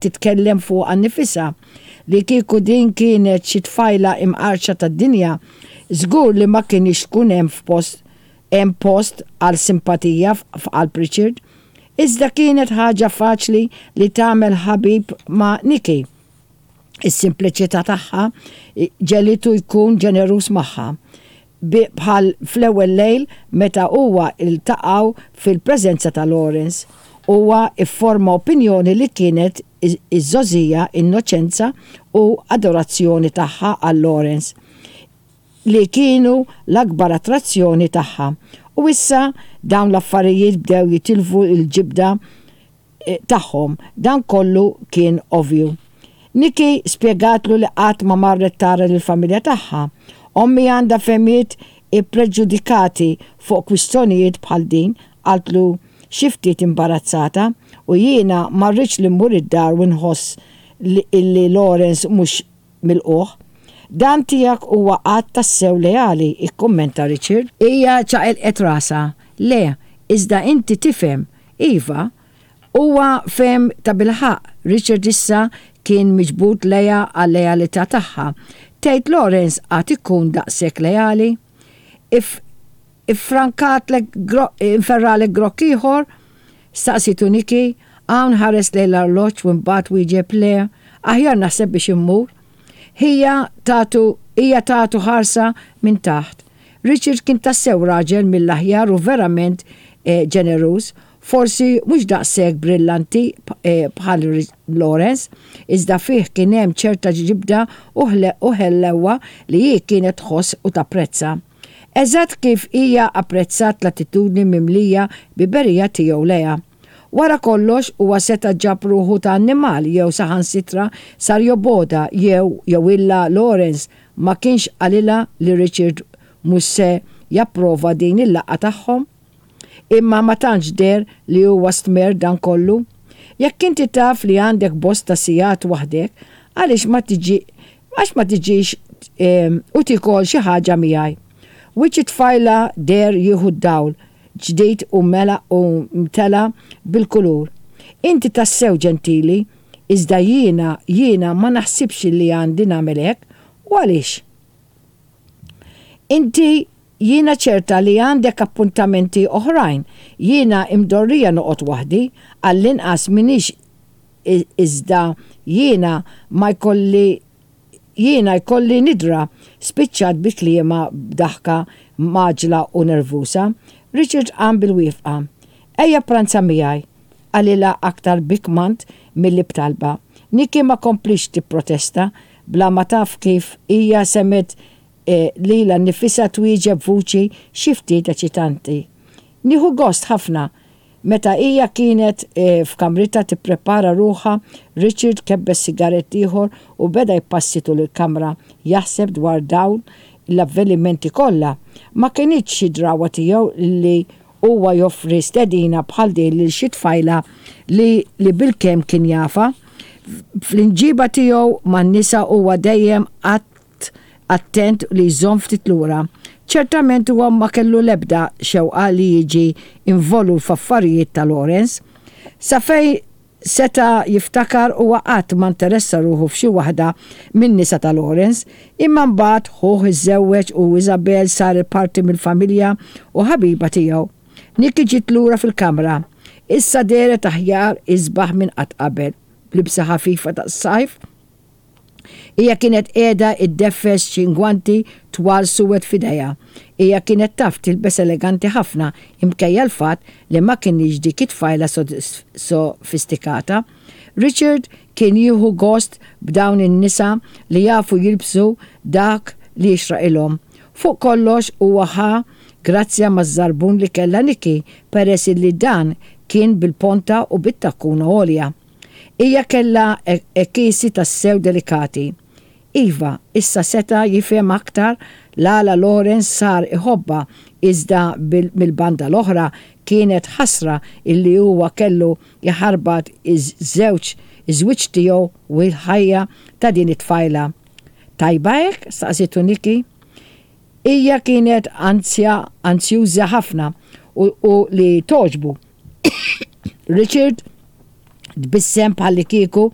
Titkellem fuqha nnifisha. Li kieku din kienet xi tfajla imqarrċa tad-dinja, żgur li ma kinitx tkun hemm f'post hemm post għal simpatija f'qalb Richard. Iżda kienet ħaġa faċli li tagħmel ħabib ma' Nikki. Is-simpliċità tagħha ġegħlitu jkun ġeneruż magħha. Bħal fl-ewwel lejl meta huwa ltaqgħu fil-preżenza ta' Lawrence, huwa fforma opinjoni li kienet iż-żgħożija, innoċenza u adorazzjoni tagħha għal Lawrence li kienu l-akbar attrazzjoni tagħha. U issa dawn l-affarijiet bdew jitilfu l-ġibda tagħhom. Dan kollu kien ovvju. Nikki spjegatlu li qatt ma marret tara lill-familja tagħha. Ommi għandha fehmiet ippreġudikati fuq kwistjonijiet bħal din, qaltlu xi ftit imbarazzata, u jiena ma rridx li mmur id-dar u nħoss li Lawrence mhux milqugħ. Dan tiegħek huwa att tassew leali, ikkummenta Richard. Hija ċaqilqet rasha. Le, iżda inti tifhem. Iva. Huwa fehem tabilħaqq, Richard issa kien miġbud lejha għal-lealità tagħha. Tgħid Lawrence għad ikun daqshekk leali? If Iffrankatlek inferralek grokk ieħor? Staqsietu Nikki. Hawn ħares lejn l-arloġġ u imbagħad wieġeb le, aħjar naħseb biex immur. Hija tatu hija tatu ħarsa minn taħt. Richard kien tassew raġel mill-aħjar u verament ġeneruż, forsi mhux daqshekk brillanti bħal Lawrence, iżda fih kien hemm ċerta ġibda u ħlewwa li hi kienet tħoss u tapprezza. Eżatt kif hija apprezzat l-attitudni mimlija biberija tiegħu lejha. Wara kollox, huwa seta' ġab ruħu ta' annimal jew saħansitra sar jobgħodha jew jew illa Lawrence ma kienx qalilha li Richard mhux se japprova din il-laqgħa tagħhom. Imma ma tantx deher li huwa stmerr dan kollu. Jekk inti taf li għandek bosta sigħat waħdek, għaliex ma tiġi għax ma tiġix u tiekol xi ħaġa miegħi? Wiċċ it-tfajla deher jieħu d-dawl ġdid u mela u mtela bil-kulur. Inti tassew ġentili, iżda jiena, jiena ma naħsibx li għandi nagħmel hekk. U għaliex? Inti Jiena ċerta li għandek appuntamenti oħrajn. Jiena imdorrija noqgħod waħdi, għall-inqas m'iniex iżda jiena ma jkolli jiena jkolli nidra, spiċċat bi kliemha b'daħka mgħaġġla u nervuża. Richard qam bil-wieqfa. Ejja ppranza miegħi, qalilha aktar bi kmand milli b'talba. Nikki ma komplitx tipprotesta, bla ma taf kif hija semgħet Lilha nnifisha twieġeb b'vuċi xi ftit eċitanti. Nieħu gost ħafna. Meta hija kienet f'kamritha tipprepara ruħha, Richard kebbes sigarett ieħor u beda jpassi tul il-kamra, jaħseb dwar dawn l-avvenimenti kollha. Ma kinitx xi drawwa tiegħu li huwa joffri stedina bħal din lil xi tfajla li li bilkemm kien jafha. Fl-imġiba tiegħu man-nisa huwa dejjem qatt attent li jżomm ftit lura. Ċertament huwa ma kellu l-ebda xewqa li jiġi involut f'affarijiet ta' Lawrence. Sa fejn seta' jiftakar huwa qatt ma nteressa ruħu f'xi waħda min-nisa ta' Lawrence. Imma mbagħad ħuh iżżewweġ u Isabel saret parti mill-familja u ħabiba tiegħu. Nikki ġiet lura fil-kamra. Issa dehret aħjar isbaħ minn qatt qabel, b'libsa ħafifa tas-sajf. Hija kienet qiegħda iddeffes xi ngwanti twal suwed f'idejha. Hija kienet taf tilbes eleganti ħafna imkejja l-fatt li ma kinitx dik it-tfajla sofistikata. Richard kien jieħu gost b'dawn in-nisa li jafu jilbsu dak li jixraqilhom. Fuq kollox huwa ħa grazzja maż-żarbun li kellha Nikki peress illi dan kien bil-ponta u bit-takkuna għolja. Hija kellha għekiesi tassew delikati. Iva, issa seta' jifhem aktar l-għala Lawrence sar iħobbha iżda mill-banda l-oħra kienet ħasra illi huwa kellu jħarbat iż-żewġ iż-żwieġ tiegħu u l-ħajja ta' din it-tfajla. Tajba hekk? staqsietu Nikki. Hija kienet anzja anzjuża ħafna u li togħġbu. Richard. Tbissem bħallikieku